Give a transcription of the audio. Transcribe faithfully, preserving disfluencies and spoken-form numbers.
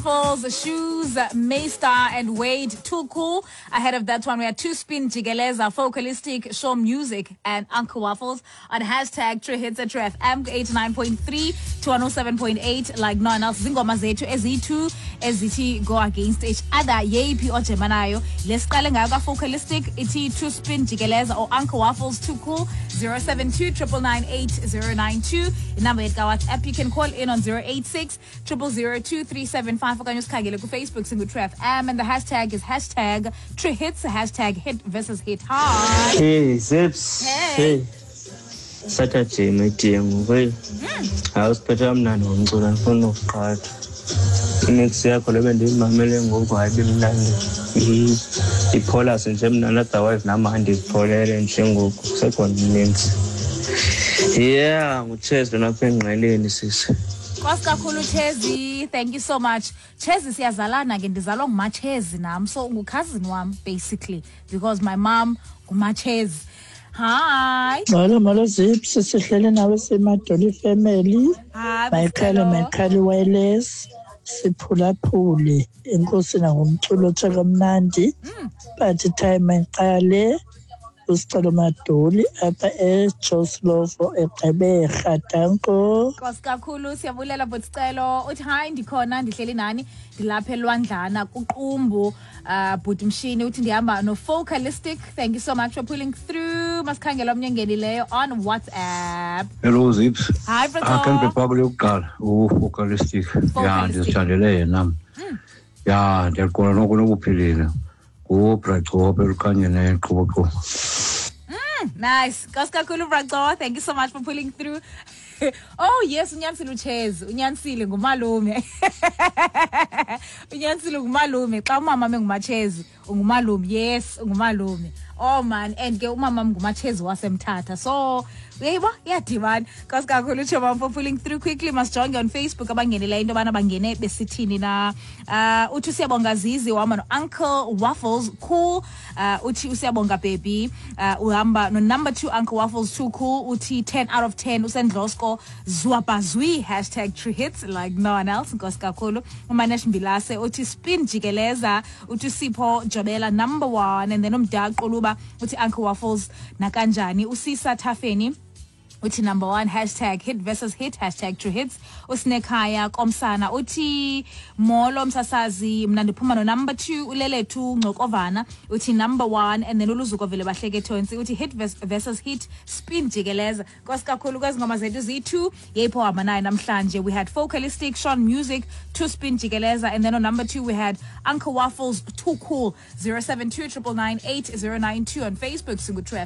Falls, Shoes, Maystar and Wade, Too Cool. Ahead of that one, we had Two Spin Jigeleza, Focalistic, Show Music, and Uncle Waffles on hashtag True Hits at True F M eighty-nine point three to one oh seven point eight, like no one else. Zingoma zethu eziyi-two ezithi go against each other. Yeyiphi ojema nayo? Lesiqale ngayo ka-Focalistic ithi Two Spin Jigeleza or Uncle Waffles, Too Cool. zero seven two nine nine nine eight zero nine two inamba yethu ka-WhatsApp. You can call in on zero eight six zero zero two three seven five okanye usikhangele kuFacebook, singu-True F M, and the hashtag is hashtag True Hits, hashtag hit versus hit. Hi. Hey, Zips. Hey. Hey. Saturday my dear, ngoku hey. Hayi, usiphethe kamnandi ngomculo, andifuni nokuqhatha. Imix yakho le bendiyimamele ngoku, hayi, bimnandi. I- Ipholase nje mnandi, otherwise nam andizipholele nje ngoku. Kusekhona ininzi. Yeah, nguChezi lona apha engqeleni, sisi. Nkosi kakhulu, Chezi, thank you so much. Chezi, siyazalana ke, ndizalwa nguMachezi nam, so ungucousin wam basically because my mom nguMachezi. Hi. Molo, molo Zips, sihleli nawe siMadoli family. Hi. Mayikhale. Butelo. Mayikhale wireless. Siphulaphule. Enkosi nangomculo otsho kamnandi. But time mayiqale uSicelo Madoli apha eJoe Slovo eGqeberha. Danko. Nkosi kakhulu, siyabulela Bhuticelo. Uthi hayi, ndikhona, ndihleli nani, ndilapha elwandlana kuQumbu. uh bhuti Mshini uthi ndihamba no-Focalistic. Thank you so much for pulling through. Masikhangela omnye ongenileyo on WhatsApp. Hello Zips. Hi. Akhe Brother. Ndibhekwe yokuqala uFocalistic. Ya. Focalistic. Ndizithandele yena mna. Ya, ndiyaqonda noko nokuphilile. NguBracope elukhanye neqhubuqhubu. Nice. Nkosi kakhulu, Braco. Thank you so much for pulling through. Oh yes, unyanisile uChezi, unyanisile, ngumalume. Unyanisile, ngumalume. Xa umama menguMachezi, ungumalume. Yes, ungumalume. Oh man, and ke umama nguMachezi waseMthatha. So, uyayibo, iyadibana. Nkosi kakhulu, Choma, for pulling through quickly. Masijonge on Facebook abangenileyo into yobana bangene besithini na. Uh uthi usiyabonga Zizi, uhamba no Uncle Waffles, Cool. Uh uthi usiyabonga baby. Uh uhamba no number two, Uncle Waffles, Too Cool. Uthi ten out of ten, usendlosko zwapazwi hashtag true hits like no one else. Nkosi kakhulu. UManesh Mbilase uthi Spin Jikeleza. Uthi Sipho Jobela, number one, and then umdaqo luba uthi Uncle Waffles nakanjani. Usisa Thafeni uthi number one, hashtag hit versus hit, hashtag true hits. Usinekhaya komsana uthi molo msasazi, mna ndiphuma no number two. Ulelethu Ngcokovana uthi number one, and then uluzuko vele bahleke thonsi uthi hit vers- versus hit, Spin Jikeleza. Nkosi kakhulu kwezi ngoma zethu ziyi-two, yeyipho hamba nayo namhlanje? We had Focalistic, Sean Music, Two Spin Jikeleza, and then on number two we had Uncle Waffles, Too Cool. zero seven two nine nine eight zero nine two on Facebook, singu True.